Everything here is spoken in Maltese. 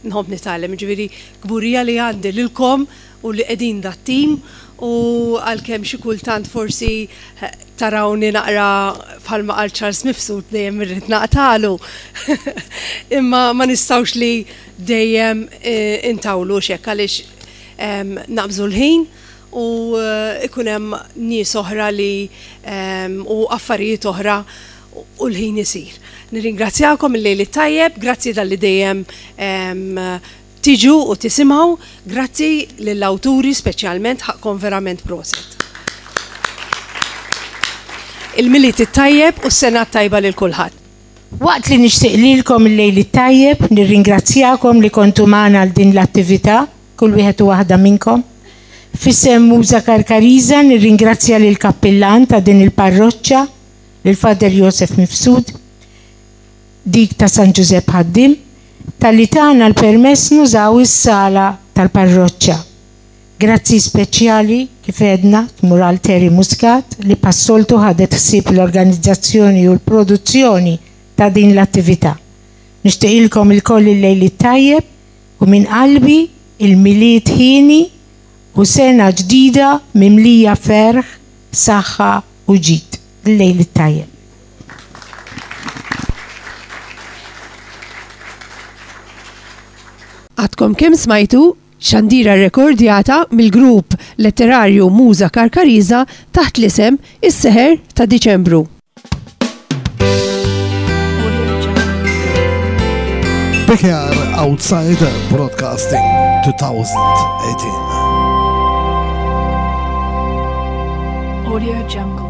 Nħobb nitgħallem, jiġifieri kburija li għandi lilkom u li qegħdin dat-tim u għalkemm xi kultant forsi tarawni naqra bħalma qal Charles Mifsud dejjem irrid naqtalu. Imma ma nistgħux li dejjem intawlu hekk għaliex naqbżu l-ħin u ikun hemm nies oħra li u affarijiet oħra u l-ħin isir. Nirringrazzjakom il-lejl it-tajjeb, grazzi talli dejjem tiġu u tisimgħu, grazzi lill-awturi speċjalment ħaqqkom verament proset. Il-Milied it-tajjeb u s-sena t-tajba lil kulħadd. Waqt li nixtieq lilkom il-lejl it-tajjeb, nirringrazzjakom li kontu magħna għal din l-attività, kull wieħed u waħda minnkom. F'isem Muża Karkariża nirringrazzja lill-kappillan ta' din il-parroċċa, lil Father Josef Mifsud, dik ta' San Ġużepp Ħaddiem, talli tana l-permess nużaw is-sala tal-parroċċa. Grazzi speċjali, kif għedna, tmur għal Terry Muscat li bħas-soltu ħadet ħsieb l-organizzazzjoni u l-produzzjoni ta' din l-attività. Nixtieqilkom ilkoll il-lejl it-tajjeb u minn qalbi il-Milied hieni u sena ġdida mimlija ferħ, saħħa u ġid. Il-lejl it-tajjeb. Għadkom kemm smajtu xandira rrekordjata mill-grupp letterarju Muża Karkariża taħt l-isem Is-Seħer ta' Diċembru. BKR Outsider Broadcasting 2018. Audio Jungle.